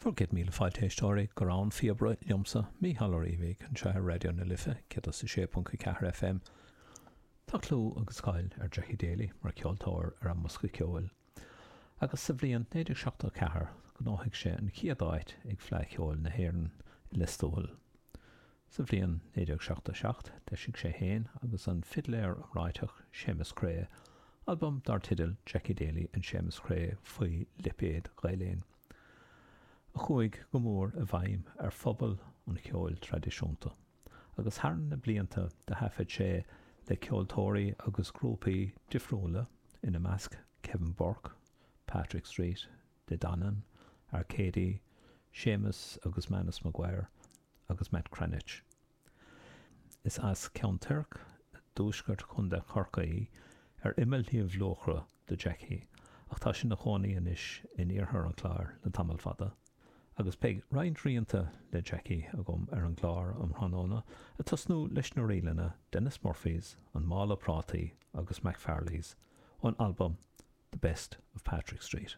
Bhur gcéad míle fáilte a éisteoirí go Rann an Phíobaire liomsa, Mícheál Ó Riabhaigh, anseo ar Raidió na Life 106.4 FM. Tá clú agus cáil ar Jackie Daly mar cheoltóir ar an mbosca ceoil agus sa bhliain 1974 ghnóthaigh sé an chéad áit ag Fleadh Cheoil na hÉireann i Lios Tuathail. Sa bhliain 1977 d'eisigh sé féin agus an fidléir iomráiteach Séamus Creagh albam dar teideal Jackie Daly and Séamus Creagh faoi lipéad Gael-Linn. a chuaigh go mór i bhfeidhm ar phobal an cheoil traidisiúnta, agus thar na blianta do thaifead sé le ceoltóirí agus grúpaí difriúla, ina measc Kevin Burke, Patrick Street, De Dannan, Arcady, Séamus agus Manus Maguire agus Matt Cranitch. Is as Ceann Toirc i dtuaisceart Chontae Chorcaí, ar imeall Sliabh Luachra, do Jackie, ach tá sé ina chónaí anois in iarthar an Chláir le tamall fada. Agus beidh roinnt rianta le Jackie agam ar an gclár um thráthnóna, ag tosnú leis na ríleanna Denis Murphy's, An Mála Prátaí agus McFarley's, ón albam The Best of Patrick Street.